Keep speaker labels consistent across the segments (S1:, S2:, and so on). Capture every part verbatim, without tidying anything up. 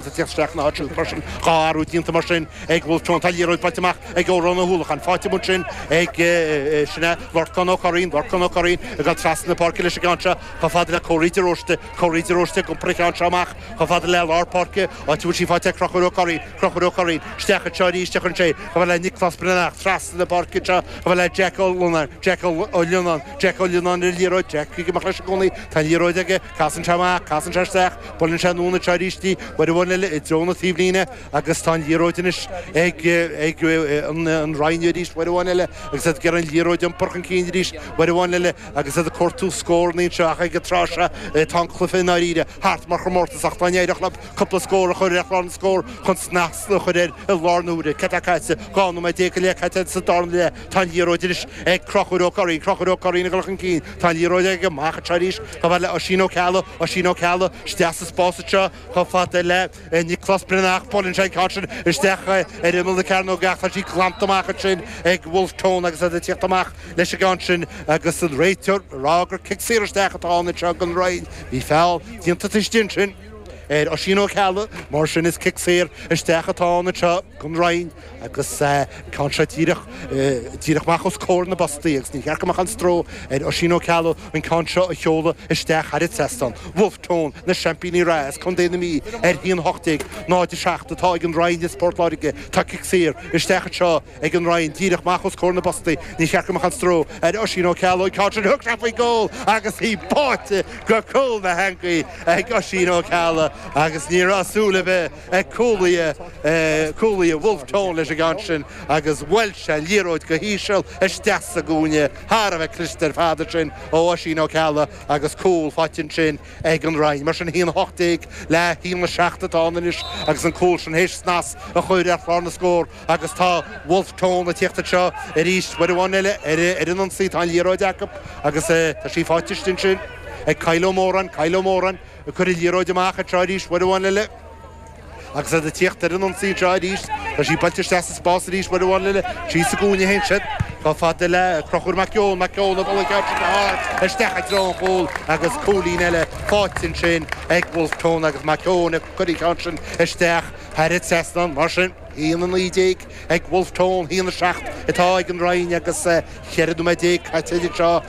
S1: Isteach na háit mar sin dhá athrú déanta mar sin ag Wolfe Tone. Tá liathróid faighte amach ag Odhrán Ó hUallacháin. Faighte ansin ag sin é Lorcán Ó Curraoin, Lorcán Ó Curraoin ag dul trasna na páirce leis an gceann seo chomh fada le Córaí de Róiste, Córaí de Róiste ag iompar an cheann seo amach chomh fada le lár páirce, áit a bhfuil sí faighte ag Conchúr Ó Curraoin, Conchúr Ó Curraoin isteach anseo arís a chuireann sé chomh fada le Nioclás Breathnach trasna na páirce anseo chomh fada le Jack Ó Lionáin, Jack Ó Lionáin, Jack Ó Lionáin ar an liathróid, Jack ag imeacht leis i gcónaí, tá an liathróid aige, casann sé amach, casann sé isteach, buaileann sé anonn anseo arís í, uair amháin eile i dtreo na taobhlíne agus tá an liathróid anois ag ag an Rinn arís uair amháin eile agus iad ag iarraidh an liathróid a iompar chun cinn arís uair amháin eile agus iad ag cuartú scóranna anseo ach ag an tráth seo tá an cluiche i ndáiríre thart mar chomórtas ach dá n-éireodh leo cúpla scór a chur ar chlár na scór chun snas a chur air i lár na huaire. Cad tá caite? Dhá nóiméad déag go leith caite sa darna leath. Tá an liathróid anois ag Conchúr Ó Curraoin, Conchúr Ó Curraoin ag dul chun cinn. Tá an liathróid aige amach anseo arís chomh fada le Oisín Ó Ceallaigh, Oisín Ó Ceallaigh isteach sa spás anseo chomh fada le Nioclás Breathnach. Buaileann sé an ceann sin isteach ar imeall na cearnóige ach tá sí glanta amach ansin ag Wolfe Tone agus iad ag tíocht amach leis an gceann sin agus an réiteoir ag rá gur cic saor isteach atá ann anseo don Rinn. Bhí feall déanta taobh istigh ansin ar Oisín Ó Ceallaigh, mar sin is cic saor isteach atá ann anseo don Rinn agus ceann seo díreach díreach amach os comhair na bpostaí agus ní cheart go mbeadh aon stró ar Oisín Ó Ceallaigh an ceann seo a sheoladh isteach thar an trasnán. Wolfe Tone, na seaimpíní reatha as Contae na Mí ar haon a hocht déag, náid a seacht atá ag an Rinn is Port Láirge. Tá cic saor isteach anseo ag an Rinn díreach amach os comhair na bpostaí. Ní cheart go mbeadh aon stró ar Oisín Ó Ceallaigh an ceann sin thug sé faoin gcúl agus í báite go cúl na heangaí ag Oisín Ó Ceallaigh agus ní raibh súil ar bith ag cúlaithe cúlaithe Wolfe Tone leis an gceann sin agus bhuail sé an liathróid go híseal isteach sa gcúinne thar a bheith cliste ar fad ansin ó Oisín Ó Ceallaigh agus cúl faighte ansin ag an Rinn. Mar sin a haon a hocht déag le haon a seacht atá ann anois agus an cúl sin théis snas a chur ar chlár na scór agus tá Wolfe Tone ag tíocht anseo arís uair amháin eile ar ar an ionsaí tá an liathróid acu agus tá sí faighte ansin ag Kyle Ó Móráin, Kyle Ó Móráin ag cur an liathróid amach anseo arís uair amháin eile agus iad ag tíocht ar an ionsaí anseo arís tá sí buailte isteach sa spás arís uair amháin eile síos sa gcúinne féin siad chomh fada le Conchúr Mac Eoin Mac Eoin ag dul isteach i dtreo an chúil agus cúilín eile faighte ansin ag Wolfe Tone agus Mac Eoin ag cur an ceann sin isteach thar an trasnán mar sin haon a naoi déag ag Wolfe Tone haon a seacht atá ag an Rinn agus ceithre nóiméad déag caite anseo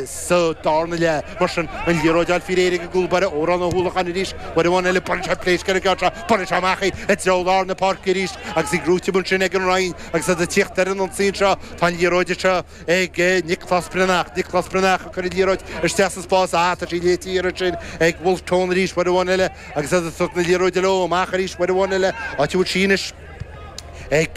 S1: sa darna leath mar sin an liathróid á fáil ag an gcúl báire Odhrán Ó hUallacháin arís uair amháin eile baineann sé pléasc ar an gceann seo baineann sé amach í i dtreo lár na páirce arís agus í gnóite ansin ag an Rinn agus iad ag tíocht ar an ionsaí anseo tá an liathróid anseo ag Nioclás Breathnach Nioclás Breathnach ag cur an liathróid isteach sa spás á tá sí léite ansin ag Wolfe Tone arís uair amháin eile agus iad ag tabhairt na liathróide leo amach arís uair amháin eile áit a bhfuil sí anois ag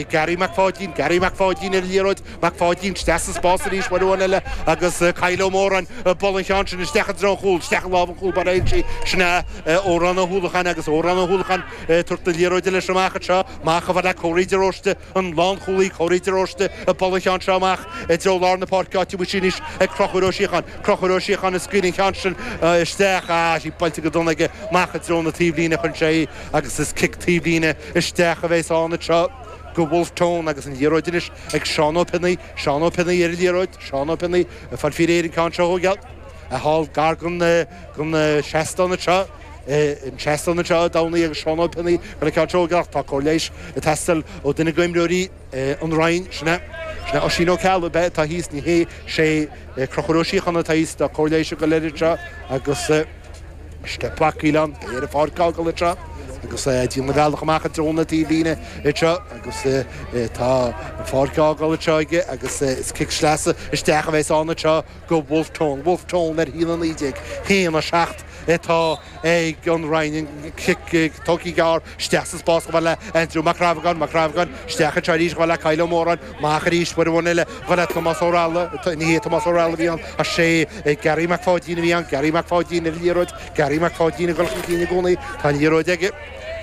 S1: Gary Mac Pháidín, Gary Mac Pháidín ar an liathróid, Mac Pháidín isteach sa spás arís uair amháin eile agus Kyle Ó Móráin buaileann an ceann sin isteach i dtreo an chúil, isteach i lámh an chúl báire sí sin é Odhrán Ó hUallacháin agus Odhrán Ó hUallacháin tabhairt na liathróide leis amach anseo, amach chomh fada le Córaí de Róiste an lánchúlaí Córaí de Róiste ag bualadh an ceann seo amach i dtreo lár na páirce áit a bhfuil sí anois ag Conchúr Ó Síocháin, Conchúr Ó Síocháin ag scaoileadh an ceann sin isteach, ah sí buailte go dona aige amach i dtreo na taobhlíne chun sé agus is cic taobhlíne isteach a bheas ann anseo go Wolfe Tone agus an liathróid anois ag Seán Ó Pionnaí, Seán Ó Pionnaí ar an liathróid, Seán Ó Pionnaí ag fáil faoi réir an ceann seo a thógáil a thál gar don don seastán anseo an seastán anseo i dTamhnaí agus Seán Ó Pionnaí ar an ceann seo a thógáil tá cóir leighis ag teastáil ó duine d'imreoirí an Rinn sin é sin é Oisín Ó Ceallaigh be atá thíos ní hé sé Conchúr Ó Síocháin atá thíos tá cóir leighis ag dul air anseo agus Step bacaíl ann, beidh ar an pháirc a fhágáil anseo agus é ag déanamh a bhealach amach i dtreo na taobhlíne anseo agus tá an pháirc á fhágáil anseo aige agus is cic sleasa isteach a bheas ann anseo go Wolfe Tone. Wolfe Tone ar haon a naoi déag, haon a seacht atá ag an Rinn. An cic tógtha gearr isteach sa spás chomh fada le Andrew Mac Rabhagáin, Mac Rabhagáin isteach anseo arís chomh fada le Kyle Ó Móráin, amach arís uair amháin eile chomh fada le Tomás Ó Raghallaigh, ní hé Tomás Ó Raghallaigh a bhí ann ach sé Gary Mac Pháidín a bhí ann, Gary Mac Pháidín ar an liathróid, Gary Mac Pháidín ag dul chun cinn i gcónaí, tá an liathróid aige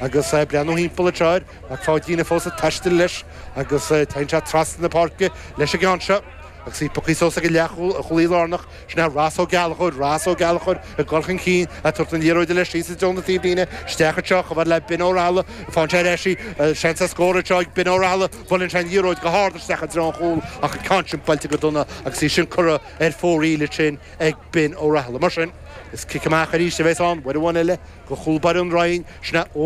S1: agus breathnú thimpeall anseo air, Mac Pháidín fós ag taisteal leis agus téann sé trasna na páirce leis an gceann seo. agus í pioctha suas ag leathchúlaí lárnach sin é Ross Ó Gallchóir Ross Ó Gallchóir ag dul chun cinn ag tabhairt an liathróid leis síos i dtreo na taobhlíne isteach anseo chomh fada le Ben Ó Rathaille faigheann sé ar ais í seans ar scór anseo ag Ben Ó Rathaille buaileann sé an liathróid go hard isteach i dtreo an chúil ach an ceann sin buailte go dona agus í sin curtha ar fóraoil ansin ag Ben Ó Rathaille mar sin is cic amach arís a bheas ann uair amháin eile go chúl báire an Rinn sin é